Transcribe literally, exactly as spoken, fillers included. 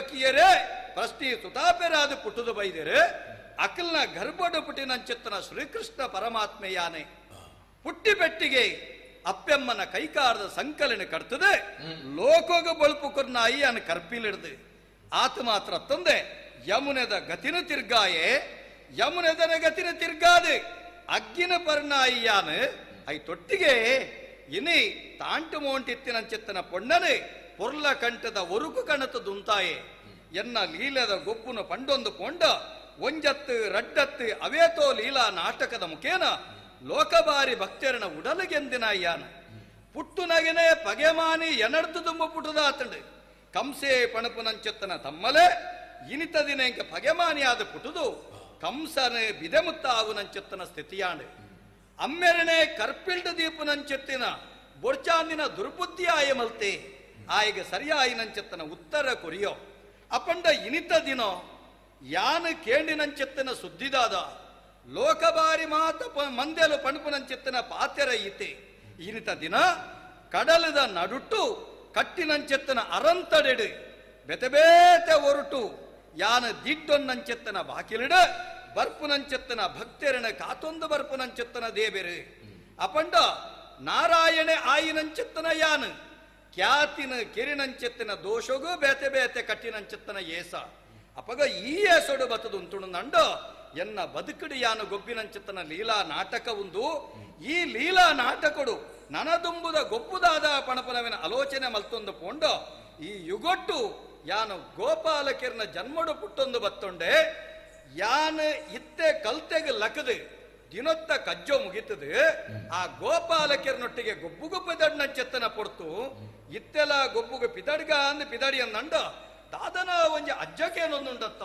ದೇವಕಿಯರೇ ಪ್ರಶ್ನೆ ಸುತಾಪೆರಾದ ಪುಟ್ಟುದು ಬೈದರೆ ಅಕಲ್ನ ಗರ್ಭಡು ಪುಟ್ಟಿನಂಚಿತ್ತನ ಶ್ರೀಕೃಷ್ಣ ಪರಮಾತ್ಮೆಯಾನೆ ಪುಟ್ಟಿ ಪೆಟ್ಟಿಗೆ ಅಪ್ಪೆಮ್ಮನ ಕೈಕಾರದ ಸಂಕಲನ ಕಟ್ತದೆ ಲೋಕೋಗ ಬಳುಪು ಕೊರ್ನಾಯಿ ಅನ್ನ ಕರ್ಪಿಲಿಡ್ದು ಆತ ಮಾತ್ರ ತಂದೆ ಯಮುನೆದ ಗತಿನ ತಿರ್ಗಾಯೆ ಯಮುನೆದನ ಗತಿನ ತಿರ್ಗಾದೆ ಅಗ್ಗಿನ ಪರ್ನಾಯಿಯಾನು I ತೊಟ್ಟಿಗೆ ಇನಿ ತಾಂಟು ಮೋಂಟಿತ್ತಿನಂಚಿತ್ತನ ಪೊಣ್ಣನೆ ಪೊರ್ಲ ಕಂಠದ ಒರುಕು ಕಣತ ದುಂತಾಯೆ ಎನ್ನ ಲೀಲದ ಗೊಬ್ಬುನ ಪಂಡೊಂದು ಪೊಂಡ ಒಂಜತ್ತು ರಡ್ಡತ್ತು ಅವೇತೋ ಲೀಲಾ ನಾಟಕದ ಮುಖೇನ ಲೋಕಬಾರಿ ಭಕ್ತರನ ಉಡಲಗೆಂದಿನ ಅಯ್ಯಾನ ಪುಟ್ಟು ನಗೆನೆ ಪಗೆಮಾನಿ ಎನಡ್ದು ತುಂಬ ಪುಟದಾತಂಡು ಕಂಸೆ ಪಣಪುನಂಚೆತ್ತನ ತಮ್ಮಲೆ ಇನಿತ ದಿನ ಪಗೆಮಾನಿಯಾದ ಪುಟುದು ಕಂಸನೆ ಬಿದೆಮುತ್ತಾವುನಂಚೆತ್ತನ ಸ್ಥಿತಿಯಾಂಡು ಅಮ್ಮೆರನೆ ಕರ್ಪಿಲ್ಡ ದೀಪುನಂಚೆತ್ತಿನ ಬೊರ್ಚಾಂದಿನ ದುರ್ಬುದ್ಧಿ ಆಯ ಮಲ್ತೆ ಆಯಗ ಸರಿಯಾಯಿನಂಚೆತ್ತನ ಉತ್ತರ ಕೊರಿಯೋ ಅಪಂಡ ಇನಿತ ದಿನೋ ಯಾನ ಕೇಂಡಿನಂಚೆತ್ತನ ಸುದ್ದಿದಾದ ಲೋಕಬಾರಿ ಮಾತ ಮಂದೆಲು ಪಣಪುನಂಚೆತ್ತನ ಪಾತೆರ ಈತೆ ಇನಿತ ದಿನ ಕಡಲದ ನಡುಟ್ಟು ಕಟ್ಟಿನಂಚೆತ್ತನ ಅರಂತಡೆಡು ಬೆತೆಬೇತೆ ಒರಟು ಯಾನ ದಿಡ್ಡೊನ್ನಂಚೆತ್ತನ ಬಾಕಿಲಿಡ ಬರ್ಪುನಂಚೆತ್ತನ ಭಕ್ತರನ ಕಾತೊಂದು ಬರ್ಪುನಂಚೆತ್ತನ ದೇವೆರು ಅಪಂಡ ನಾರಾಯಣೆ ಆಯಿನಂಚೆತ್ತನ ಯಾನು ಖ್ಯಾತಿನ ಕೆರಿನಂಚೆತ್ತನ ದೋಷಗೂ ಬೇತೆ ಬೇತೆ ಕಟ್ಟಿನಂಚೆತ್ತನ ಏಸ ಅಪಗ ಈ ಏಸೊಡು ಬತ್ತದು ಉಂಟುಂಡು ಎನ್ನ ಬದುಕಡು ಯಾನು ಗೊಬ್ಬಿನಂಚೆತ್ತನ ಲೀಲಾ ನಾಟಕ ಉಂದು ಈ ಲೀಲಾ ನಾಟಕಡು ನನದುಂಬುದ ಗೊಬ್ಬುದಾದ ಪಣಪನವಿನ ಆಲೋಚನೆ ಮಲ್ತೊಂದು ಪೋಂಡ ಈ ಯುಗೊಟ್ಟು ಯಾನು ಗೋಪಾಲಕಿರ್ನ ಜನ್ಮಡು ಪುಟ್ಟೊಂದು ಬತ್ತೊಂಡೆ ಯಾನು ಇತ್ತೆ ಕಲ್ತೆಗ ಲಕದು ದಿನೊತ್ತ ಕಜ್ಜೋ ಮುಗಿತದು ಆ ಗೋಪಾಲಕಿರ್ನೊಟ್ಟಿಗೆ ಗೊಬ್ಬುಗು ಪಿದಡ್ನಂಚೆತ್ತನ ಪೊರ್ತು ಇತ್ತೆಲ ಗೊಬ್ಬುಗು ಪಿದಡ್ಗ ಅಂದ್ ಪಿದಡಿ ಅಂದಂಡ ದಾದನ ಒಂಜಿ ಅಜ್ಜಕೇನೊಂದುಂಡತ್ತ